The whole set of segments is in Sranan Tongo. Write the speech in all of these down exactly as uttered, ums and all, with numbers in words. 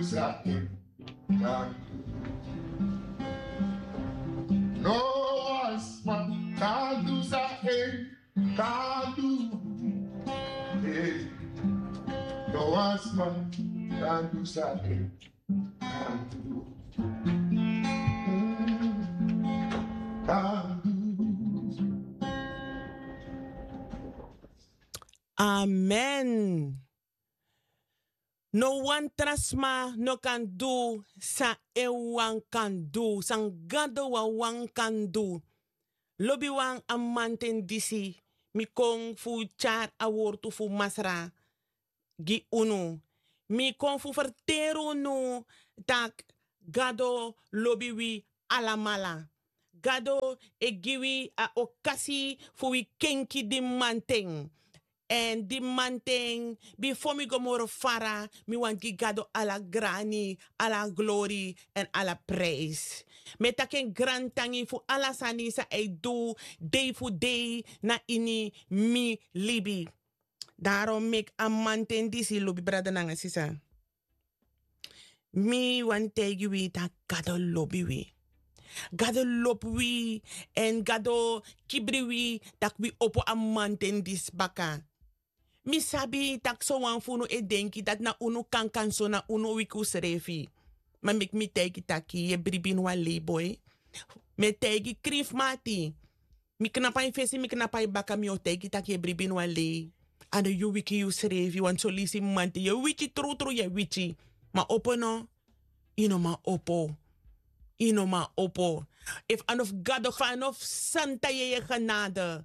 sa en kan du. No wan sma kan du sa en kan du. Hey. No wan sma kan du sa en kan du. Kan du. Amen. No wan tra sma no kan du san en wan kan du, san Gado wawan kan du. Lobiwan, a mamanten disi mi kon fu tyari a wortu fu Masra gi unu. Mi kon fu ferteri unu tak' Gado lobi wi alamala. Gado e gi wi a okasi fu wi kenki di mamanten. Èn di mamanten, bifo mi go moro fara, mi wani gi Gado ala grani, ala glori èn ala prijs. Mi e taki en grantangi fu ala sani san a e du dei fu dei na ini mi libi. Daarom meki a mamanten disi, lobi brada nanga sisa, mi wani taigi wi tak' Gado lobi wi. Gado lobi wi, èn Gado kibri wi tak' wi opo a mamanten disi baka. Mi sabi tak' sowan fu unu e denki dati na unu kankan so na unu wiki unsrefi. Ma meki mi taigi taki yu e bribi ini wan lei boi. Mi e taigi krin fu mi ati. Mi knapu na yu fesi, mi knapu na yu baka, mi o taigi taki yu e bribi ini wan lei. A no yu wiki yusrefi, want son leisi mamanten yu e wiki, trutru yu e wiki. Ma opo no, yu no man opo. Yu no man opo. Efu a no fu Gado, fa a no fu Santa Yeye genade,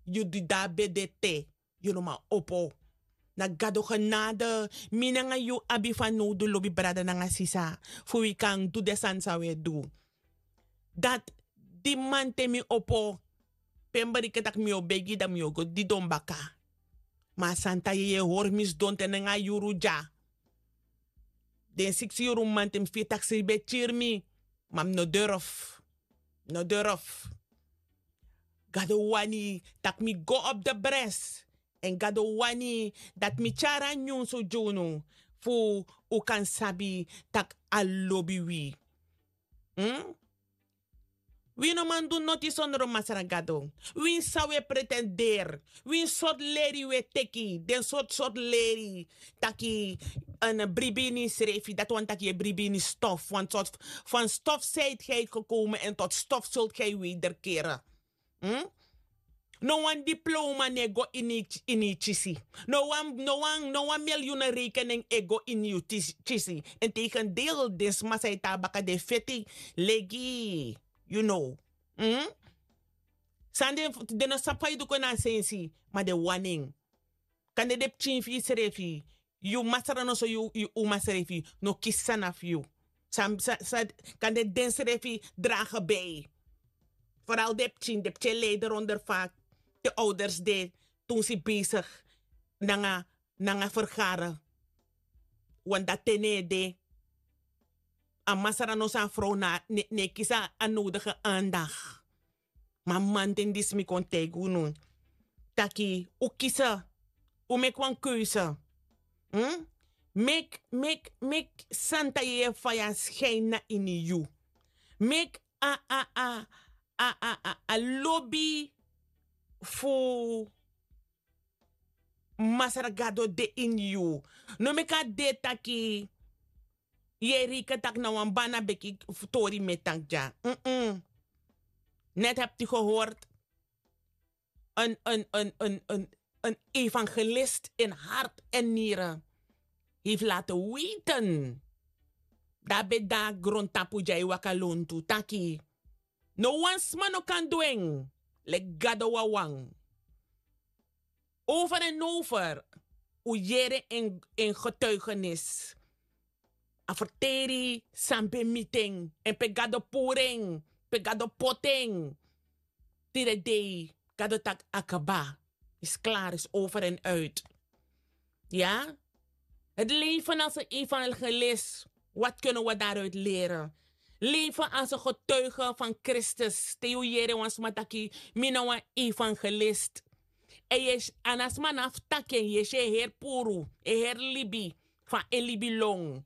yu dida ben de te. Yu no man opo. Na Gado genade mi nanga yu abi fanowdu, lobi brada nanga sisa, fu wi kan du den sani san wi e du. Dati, di mamanten mi opo, pe mi bereken tak' mi o begi, dan mi o go didon baka. Ma a Santa Yeye hori mi sidon te nanga a yuru dya. Den siksi yuru mamanten mi firi tak' sribi e kiri mi. Ma mi no durf. Mi no durf. Gado wani tak' mi go op de bres. Èn Gado wani dati mi tyari a nyunsu gi unu, fu un kan sabi tak' a lobi wi. Hmm? Wi no man du noti sondro Masra Gado. Winsi san wi e pretenderi, winsi sortu leri wi e teki, den sortu sortu leri, taki, en bribi ini srefi, dati wani taki yu e bribi ini stof, want sortu, van stof zijt gij gekomen en tot stof zult gij wederkeren. Hmm? No wan diploma no e go ini, ini yu kisi. No wan, no wan, no wan miljoenen rekening e go ini yu tis-, kisi. Integendeel, den sma san e tan na baka den feti legi, you know. Hmm? San den, den no sabi fa yu du kon na a sensi, ma den wani en. Kande den pikin fu yusrefi, yu Masra, noso yu, yu uma srefi no kisi sani na fu yu. San, san, san, kande den srefi dragen bij. Vooral den pikin, den pikin e lijden ronder fa den ouders de, toen ze bezig nanga, nanga vergaren. Want dati ten no e de. A Masra, noso a vrouw na, no e, no e kisi a nodige aandacht. Ma mamanten disi mi kon taigi unu taki un kisi, un meki wan keuze. Hmm? Meki, meki, meki Santa Yeye faya schijn na ini yu. Meki a, a, a, a, a, a, a lobi fu Masra Gado de ini yu. No meki a de taki yu e reken taki na wan bana beki fu tori mi e taki dya. Mm-mm. Net hebt u gehoord. Een, een, een, een, een, een evangelist in hart en nieren heeft laten weten. Dati ben de na grontapu dya e waka lontu taki no wan sma no kan du en, leki Gado wawan. Over en over, un yere en, en getuigenis. A ferteri san ben miti en, èn pe Gado puru en, pe Gado poti en. Tide dei, Gado taki a kaba. Is klaar, is over en uit. Ja? Het leven als een evangelist. Wat kunnen we daaruit leren? Leven als een getuige van Christus. Te yu yere wan sma taki mi na wan evangelist. En yu e si, a na sma na fu taki en, yu e si en heri puru, en heri libi, fa en libi lon.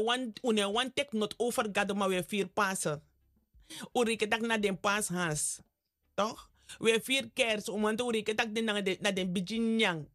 no e wani teki noti over gado ma wi e firi pasi. Un reken tak' na den pasi hans. Tok'? Wi e firi kers un man tu un reken tak' den nanga den na den bigi nyan.